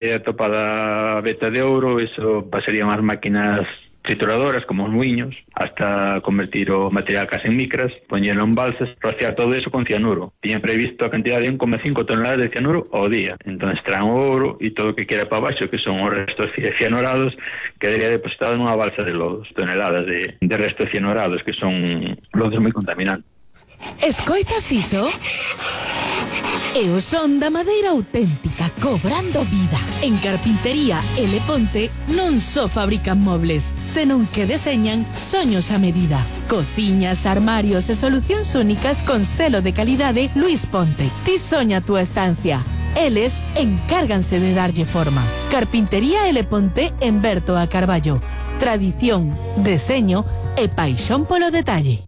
Topada a veta de ouro, eso pasarían as máquinas trituradoras como os muiños hasta convertir o material case en micras, poñelo en balsas, rociar todo eso con cianuro. Tiñan previsto a cantidad de 1,5 toneladas de cianuro ao día. Entón extraen o ouro e todo o que queda para baixo, que son os restos cianorados, quedaría depositado nunha balsa de lodos, toneladas de restos cianorados, que son lodos moi contaminantes. Escoitas iso? É o son da madeira auténtica cobrando vida. En Carpintería L. Ponte non só fabrican mobles, senón que deseñan soños a medida. Cociñas, armarios e solucións únicas con selo de calidade Luis Ponte. Ti soña a túa estancia. Eles encárganse de darlle forma. Carpintería L. Ponte en Berto a Carballo. Tradición, deseño e paixón polo detalle.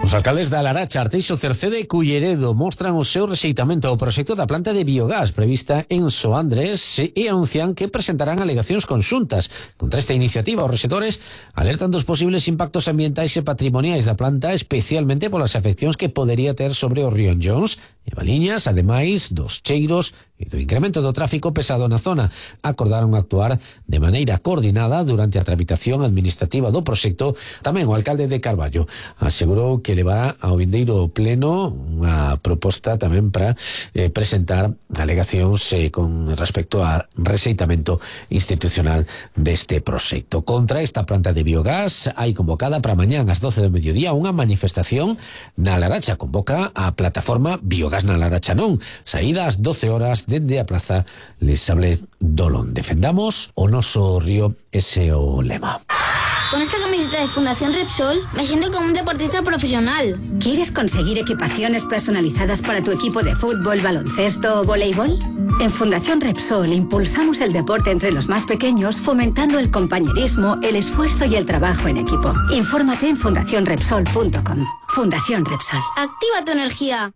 Os alcaldes da Laracha, Arteixo, Cerceda e Culleredo mostran o seu rexeitamento ao proxecto da planta de biogás prevista en Soandres e anuncian que presentarán alegacións conxuntas. Contra esta iniciativa, os rexedores alertan dos posibles impactos ambientais e patrimoniais da planta, especialmente polas afeccións que podería ter sobre o río Jones e Valiñas, ademais dos cheiros e do incremento do tráfico pesado na zona. Acordaron actuar de maneira coordinada durante a tramitación administrativa do proxecto. Tamén o alcalde de Carballo asegurou que levará ao vindeiro pleno unha proposta tamén para presentar alegacións con respecto ao rexeitamento institucional deste proxecto. Contra esta planta de biogás hai convocada para mañán ás 12 do mediodía unha manifestación na Laracha. Convoca a plataforma Biogás na Laracha Non. Saída ás 12 horas dende a plaza Les Sables Dolón. Defendamos o noso río, ese o lema. Con esta camiseta de Fundación Repsol me siento como un deportista profesional. ¿Quieres conseguir equipaciones personalizadas para tu equipo de fútbol, baloncesto o voleibol? En Fundación Repsol impulsamos el deporte entre los más pequeños, fomentando el compañerismo, el esfuerzo y el trabajo en equipo. Infórmate en fundacionrepsol.com. Fundación Repsol. Activa tu energía.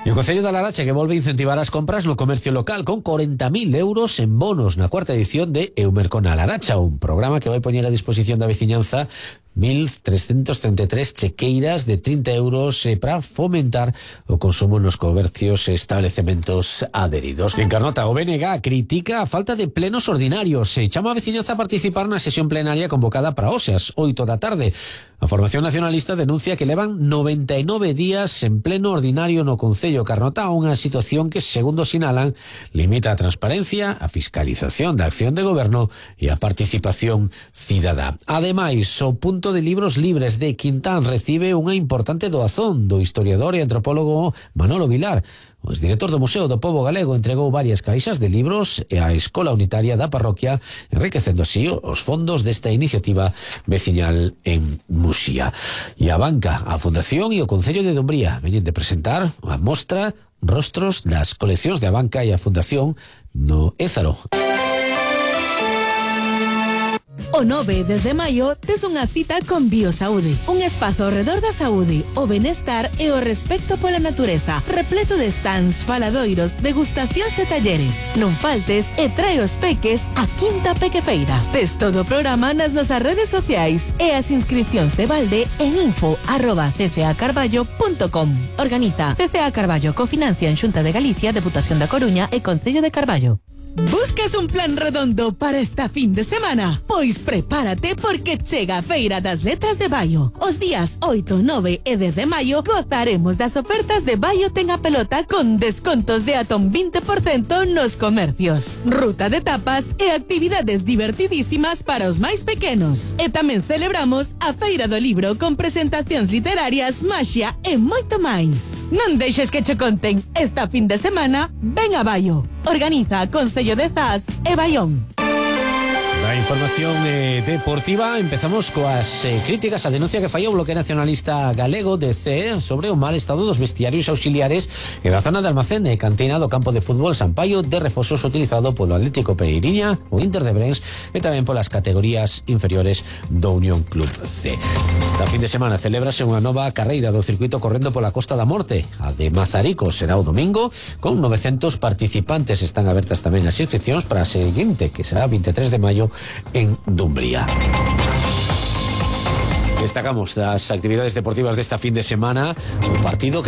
E o Concello da Laracha que volve a incentivar as compras no comercio local con 40.000 euros en bonos na cuarta edición de Eumercon a Laracha, un programa que vai poñer a disposición da veciñanza 1.333 chequeiras de 30 euros para fomentar o consumo nos comercios e establecementos adheridos. En Carnota, o BNG critica a falta de plenos ordinarios e chama a veciñanza a participar na sesión plenaria convocada para hoxe ás 8 da tarde. A Formación Nacionalista denuncia que levan 99 días en pleno ordinario no Concello Carnota, unha situación que, segundo sinalan, limita a transparencia, a fiscalización da acción de goberno e a participación cidadá. Ademais, o punto de libros libres de Quintán recibe unha importante doazón do historiador e antropólogo Manolo Vilar. O exdirector do Museo do Pobo Galego entregou varias caixas de libros e a Escola Unitaria da Parroquia, enriquecendo así os fondos desta iniciativa veciñal en Muxía. E a Banca, a Fundación e o Concello de Dumbría veñen de presentar a mostra Rostros das coleccións de a Banca e a Fundación no Ézaro. O 9 de maio tes unha cita con Biosaúde, un espazo ao redor da saúde, o benestar e o respecto pola natureza, repleto de stands, faladoiros, degustacións e talleres. Non faltes e trae os peques a Quinta Pequefeira. Tes todo o programa nas nosas redes sociais e as inscripcións de balde en info@ccacarballo.com. Organiza CCA Carballo, cofinancia en Xunta de Galicia, Deputación da Coruña e Concello de Carballo. ¿Buscas un plan redondo para esta fin de semana? Pois prepárate porque chega a Feira das Letras de Baio. Os días 8, 9 e 10 de maio gozaremos das ofertas de Baio Ten a Pelota con descontos de ata un 20% nos comercios. Ruta de tapas e actividades divertidísimas para os máis pequenos. E tamén celebramos a Feira do Libro con presentacións literarias, maxia e moito máis. Non deixes que che conten. Esta fin de semana, ven a Baio. Organiza Concello de Zas e Baión. Na información deportiva empezamos coas críticas a denuncia que fallou o Bloque Nacionalista Galego DC sobre o mal estado dos vestiarios auxiliares e da zona de almacén e cantina do campo de fútbol Sampaio de Refosos utilizado polo Atlético Pereiriña, o Inter de Brens e tamén polas categorías inferiores do Unión Club C. Esta fin de semana celébrase unha nova carreira do circuito correndo pola Costa da Morte. A de Mazaricos será o domingo con 900 participantes. Están abertas tamén as inscripcións para a seguinte, que será 23 de maio en Dumbría. Destacamos las actividades deportivas de esta fin de semana, un partido que